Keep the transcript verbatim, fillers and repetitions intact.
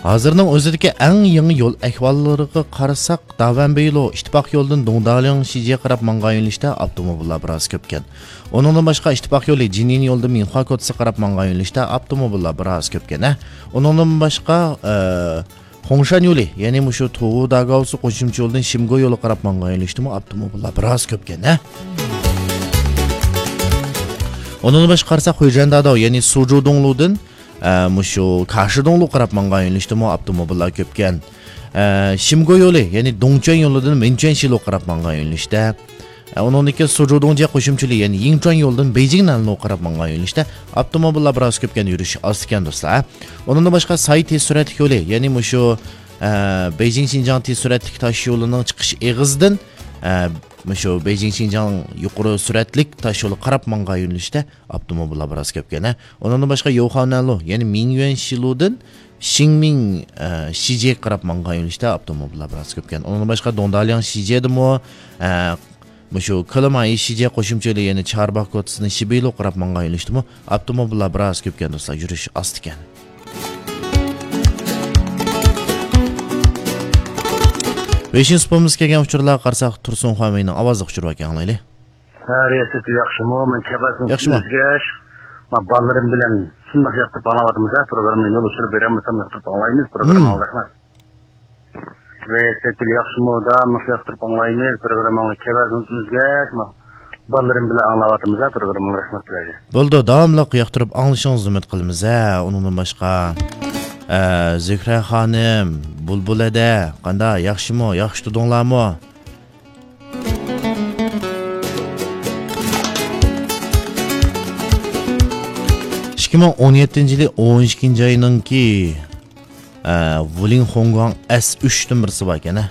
ھازىرنىڭ ئۆزىدىكى ئەڭ يېڭى يول ئەھۋاللىرىغا قارىساق، داۋەنبېيلو ئىتتىپاق يولىدىن دۇڭدالياڭ شىجيەگە قاراپ ماڭغان يۆنىلىشتە ئاپتوموبىللار بىراز كۆپكەن. ئۇنىڭدىن باشقا، ئىتتىپاق يولى جىنيىن يولىدىن مىنخۇا كوتىسىغا قاراپ ماڭغان يۆنىلىشتە ئاپتوموبىللار بىراز كۆپكەن، ھە. ئۇنىڭدىن باشقا، ئە، خۇڭشەن يولى، يەنى مۇشۇ توغۇ داگاۋسى قوشۇمچە يولىدىن شىمگو يولىغا قاراپ ماڭغان يۆنىلىشتىمۇ ئاپتوموبىللار بىراز كۆپكەن، ھە. ئۇنىڭدىن باشقا قارىساق، خۇيجەنداداۋ، يەنى سۇجۇدۇڭلۇدىن ئە، مۇشۇ كاشىدوڭلۇغا قاراپ ماڭغان يۆنىلىشتىمۇ ئاپتوموبىللار كۆپكەن. ئە، شىمگو يولى، يەنى دۇڭچۈەن يولىدىن مىنچۈەن شىلوغا قاراپ ماڭغان يۆنىلىشتە. ئە، ئۇنىڭدىن كېيىن سۇجۇدۇڭجيې قوشۇمچە يولى، يەنى يىڭچۈەن يولىدىن بېيجىڭ نەنلۇغا قاراپ ماڭغان يۆنىلىشتە ئاپتوموبىللار بىراز كۆپكەن، يۈرۈش ئاز ئىكەن، دوستلار. ئۇنىڭدىن باشقا، ساي تېز سۈرئەتلىك يولى، يەنى مۇشۇ، ئە، بېيجىڭ شىنجاڭ تېز سۈرئەتلىك تاش يولىنىڭ چىقىش ئېغىزىدىن، ئە، مۇشۇ بېيجىڭ شىنجاڭ يۇقىرى سۈرئەتلىك تاش يولىغا قاراپ ماڭغان يۆنىلىشتە ئاپتوموبىللار بىراز كۆپكەن، ھە. ئۇنىڭدىن باشقا، يوخاۋنەنلۇ، يەنى مىڭيۈەن شىلۇدىن شىڭمىڭ، ئە، شىجيېگە قاراپ ماڭغان يۆنىلىشتە ئاپتوموبىللار بىراز كۆپكەن. ئۇنىڭدىن باشقا، دۇڭدالياڭ شىجيېدىمۇ، ئە، مۇشۇ كېلىمايى شىجيې قوشۇمچە يولى، يەنى چارباغ كوتىسىدىن شىبىلۇغا قاراپ ماڭغان يۆنىلىشتىمۇ ئاپتوموبىللار بىراز كۆپكەن، دوستلار، يۈرۈش ئاز ئىكەن. ۋېيشىن سۇپىمىزغا كەلگەن ئۇچۇرلارغا قارىساق، تۇرسۇن خۇەنۋېينىڭ ئاۋازلىق ئۇچۇرى بار ئىكەن، ئاڭلايلى. ھە، رىياسەت ياخشىمۇ؟ مەن كەپەسىنى ياخشىمۇ؟ ئۆزگەش. مەن بالىلىرىم بىلەن شۇنداق ياقتۇرۇپ ئاڭلاۋاتىمىز ھە، پروگراممىنى يول ئۇچۇرى بېرەلمىسەم ياقتۇرۇپ ئاڭلايمىز، پروگراممىڭىز رەھمەت. رىياسەت ياخشىمۇ؟ داۋاملىق ياقتۇرۇپ ئاڭلايمىز، پروگراممىڭىز كەپەسىنى ئۆزگەش. مەن بالىلىرىم بىلەن ئاڭلاۋاتىمىز ھە، پروگراممىڭىز رەھمەت سىلەرگە. بولىدۇ، داۋاملىق ياقتۇرۇپ ئاڭلىشىڭىزنى ئۈمىد قىلىمىز ھە. ئۇنىڭدىن باشقا، ئە، زۆھرە خانىم، بۇلبۇل ھەدە، قانداق، ياخشىمۇ؟ ياخشى تۇردۇڭلارمۇ؟ ئىككى مىڭ ئون يەتتىنچى يىلى ئون ئىككىنچى ئاينىڭكى، ئە، ۋۇلىڭ خۇڭگۇاڭ ئەس ئۈچتىن بىرسى بار ئىكەن، ھە.